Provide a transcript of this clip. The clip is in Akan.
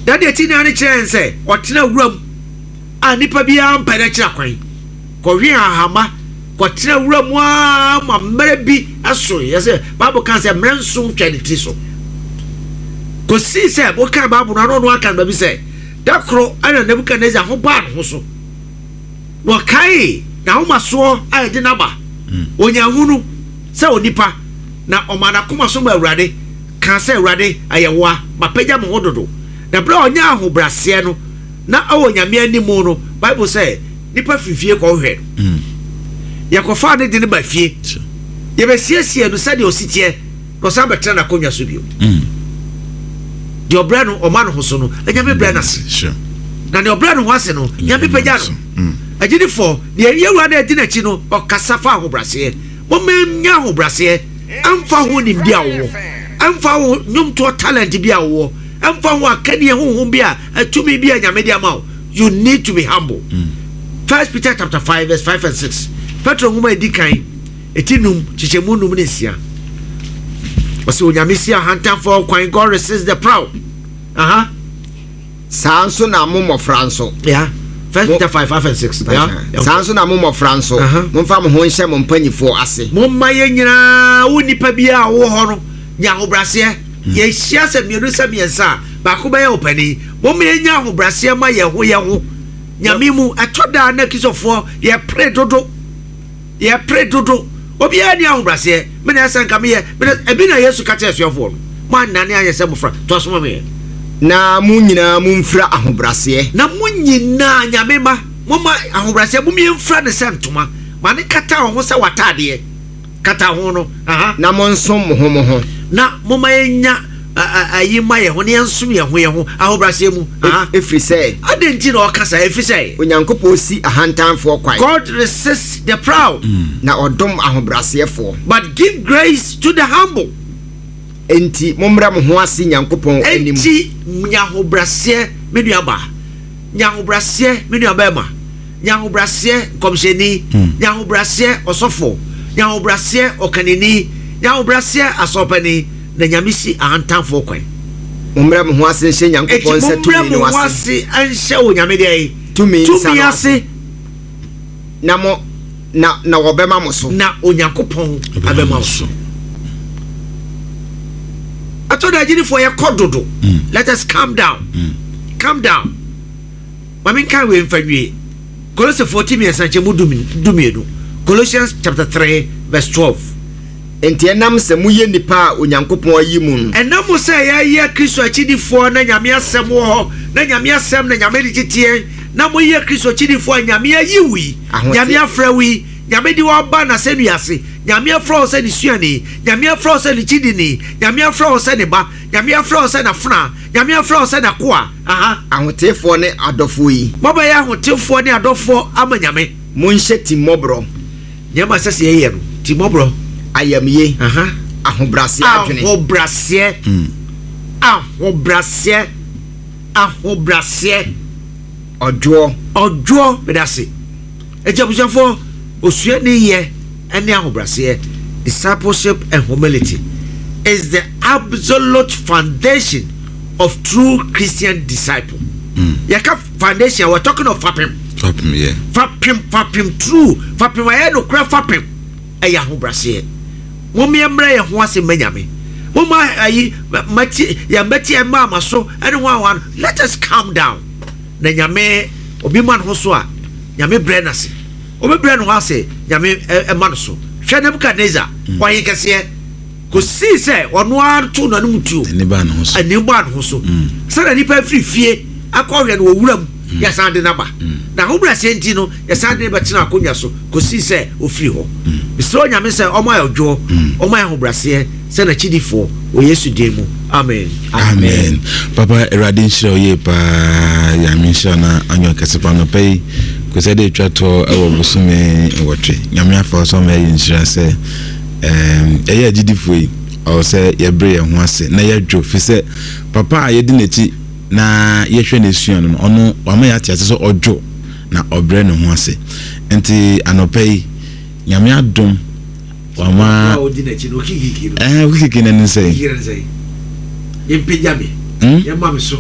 Na deɛ ɛti nyinaa no kyerɛ yɛn sɛ ɔtena wuram a nipa biara mpɛ no akyiri akwan. Kɔhwe ahama, kɔtena wuram ara ma mmerɛ bi so. Yɛ sɛ Bible ka sɛ mmerɛ nson twa ne tiri so. Kɔsii sɛ wokan Bible no ano ɔno aka no baabi sɛ da koro ɛna Nebukadnezar ho baa ne ho so. Na ɔkaee n'ahomasoɔ a ɛde no aba. Ɔnyaa hunu sɛ onipa, na ɔmaa n'akoma so maa Awurade, kaa sɛ, Awurade, ɛyɛ wo a, mapagya me ho dodo. Na berɛ a ɔnyaa ahobrɛaseɛ no, na ɔwɔ Nyame anim no, Bible sɛ, nnipa firi fie kɔhwehwɛɛ no. Yɛkɔfaa no de no baa fie. Yɛbɛsiesiee no sɛdeɛ ɔsi teɛ. Na ɔsan bɛtena n'akonnwa so bio. Deɛ ɔbrɛ no ɔma ne ho so no, Nyame brɛ no ase. Na deɛ ɔbrɛ ne ho ase no, Nyame pagya no. Agyidifoɔ, deɛ yɛn Wura no adi n'akyi no, ɔkasa fa ahobraseɛ. Momma yɛnnya ahobraseɛ, ɛmfa ho nimdeɛ a wowɔ, ɛmfa ho nnwomtoɔ talent bi a wowɔ, ɛmfa ho akannie honhom bi a tumi bi a Nyame de ama wo. You need to be humble. First Peter chapter 5 verse 5 and 6. Petro nwoma a ɛdi kan Eti num, kyekyɛmu num ne nsia. Ɔsɛ Onyame si ahantanfoɔ kwan, God resists the proud. Aha. Saa nso na mo mmɔfra nso. Yeah. First Peter 5, 5 and 6. Yeah. Saa nso na mo mmɔfra nso. Momfa mo ho nhyɛ mo mpanyifoɔ ase. Momma yɛn nyinaa, wo nipa biara a wowɔ hɔ no, nya ahobrɛaseɛ. Yɛhyia sɛ mmienu sɛ mmiɛnsa a, baako bɛyɛ ɔpanin. Momma yɛnya ahobrɛaseɛ ma yɛn ho yɛn ho. Nyame mu, ɛtɔ da a na Kristofoɔ yɛpere dodo. Yɛpere dodo. Obiara nni ahobrɛaseɛ. Me na ɛsɛ nka meyɛ. Me na, ebi na Yesu ka kyerɛɛ asuafoɔ no. Moannane anyɛ sɛ mmofra. Toa so ma me ɛ. Na mo nyinaa momfira ahobrɛaseɛ. Na mo nyinaa, Nyame mma, momma ahobrɛaseɛ, mom yɛmfira no sɛ ntoma. Ma no nkata wo ho sɛ w'ataadeɛ. Kata ho no. Aha. Na monsom mo ho mo ho. Na momma yɛnya ayi mma yɛn ho, na yɛnsom yɛn ho yɛn ho ahobrɛaseɛ mu. Aha. Ɛfiri sɛ. Adɛn nti na ɔka saa? Ɛfiri sɛ. Onyankopɔn si ahantanfoɔ kwan. God resists the proud. Na ɔdom ahobrɛaseɛfoɔ. But give grace to the humble. Enti mommrɛ mo ho ase Nyankopɔn anim. Enti nya ahobrɛaseɛ, me nuabaa. Nya ahobrɛaseɛ, me nuabarima. Nya ahobrɛaseɛ, nkɔmhyɛni. Nya ahobrɛaseɛ, ɔsɔfoɔ. Nya ahobrɛaseɛ, ɔkanini. Nya ahobrɛaseɛ, asɔrpanin. Na Nyame si ahantanfoɔ kwan. Mommrɛ mo ho ase nhyɛ Nyankopɔn Enti nsa mommrɛ tumi mo no ho ase. ase nhyɛ Onyame deɛn? Tumi nsa Tumi no ase. ase. Na mo, na, na wɔbɛma mo so. Na Onyankopɔn abɛma wo so. Ɛtɔ da agyidifoɔ yɛkɔ dodo. Let us calm down. Calm down. Ma menka wei mfa nwie. Kolosefoɔ ti mmiɛnsa nkyɛmu dumienu. Colossians chapter 3 verse 12. Enti ɛnam sɛ moyɛ nnipa a Onyankopɔn ayi mo no. Ɛnam sɛ yɛyɛ Kristo akyidifoɔ na Nyame asɛm wɔ hɔ, na Nyame asɛm na Nyame de tete yɛn, na moyɛ Kristo akyidifoɔ a Nyame ayi wo yi, Nyame afrɛ wo yi, Nyame de wo aba N'asɛnnua ase, Nyame afrɛ wo sɛ Ne suani, Nyame afrɛ wo sɛ Ne kyidini, Nyame afrɛ wo sɛ Ne ba, Nyame afrɛ wo sɛ N'afenaa, Nyame afrɛ wo sɛ N'akoa, aha. Ahoteefoɔ ne adɔfoɔ yi. Moabɛyɛ ahotefoɔ ne adɔfoɔ ama Nyame. Monhyɛ timmɔborɔ. Nneɛma a ɛsɛ sɛ yɛyɛ no, timmɔborɔ. Ayamye. Aha. Ahobrɛaseɛ adwene. Ahobrɛaseɛ. Ahobrɛaseɛ. Ahobrɛaseɛ. Ɔdwoɔ. Ɔdwoɔ, meda ase. Enti abusuafoɔ, osuani yɛ ne ahobrɛaseɛ, discipleship and humility, is the absolute foundation of true Christian disciple. Yɛka foundation, we're talking of fapem. Fapem, yeah. Fapem, fapem true, fapem ayɛ nokorɛ fapem ɛyɛ ahobrɛaseɛ. Mom yɛmmrɛ yɛn ho ase mma Nyame. Momma ayi, mati, yɛn bɛti ɛmma ama so ɛne ho ahoa no. Let us calm down. Na Nyame, obi ma ne ho so a, Nyame brɛ no ase. Obi brɛ ne ho ase, Nyame ɛma no so. Hwɛ Nebuchadnezzar, ɔhen kɛseɛ, kɔsii sɛ ɔno ara too n'anom tuo. Ani baa ne ho so. Ani baa ne ho so. Sɛdeɛ nnipa afiri fie akɔhwɛ no wɔ wuram, yɛsan de no aba. Na ahobrɛaseɛ nti no, yɛsan de no bɛtena akonnwa so kɔsii sɛ ɔfiri hɔ. Mesrɛ Onyame sɛ ɔmma yɛn ɔdwoɔ, ɔmma yɛn ahobrɛaseɛ sɛ n'akyidifoɔ, wɔ Yesu din mu, amen. Amen. Papa, Awurade nhyira wo yie paa. Nyame nhyira na anyɛ ɔkɛse pa anɔpa yi. Kwasiada de atwa toɔ wɔ bosome nwɔtwe. Nyame afa wo so ama yɛayɛ nhyira sɛ ɛyɛ agyidifoɔ yi. Ɔwɔ sɛ yɛbrɛ yɛn ho ase na yɛdwo fi sɛ papa a yɛdi n'akyi na yɛhwɛ no sua no no, ɔno wama yɛate ase sɛ ɔdwo na ɔbrɛ ne ho ase. Nti anɔpa yi, Nyame adom wama ɛhɛn okikiki n'ani sɛn? Yɛmpagya me, yɛma me so.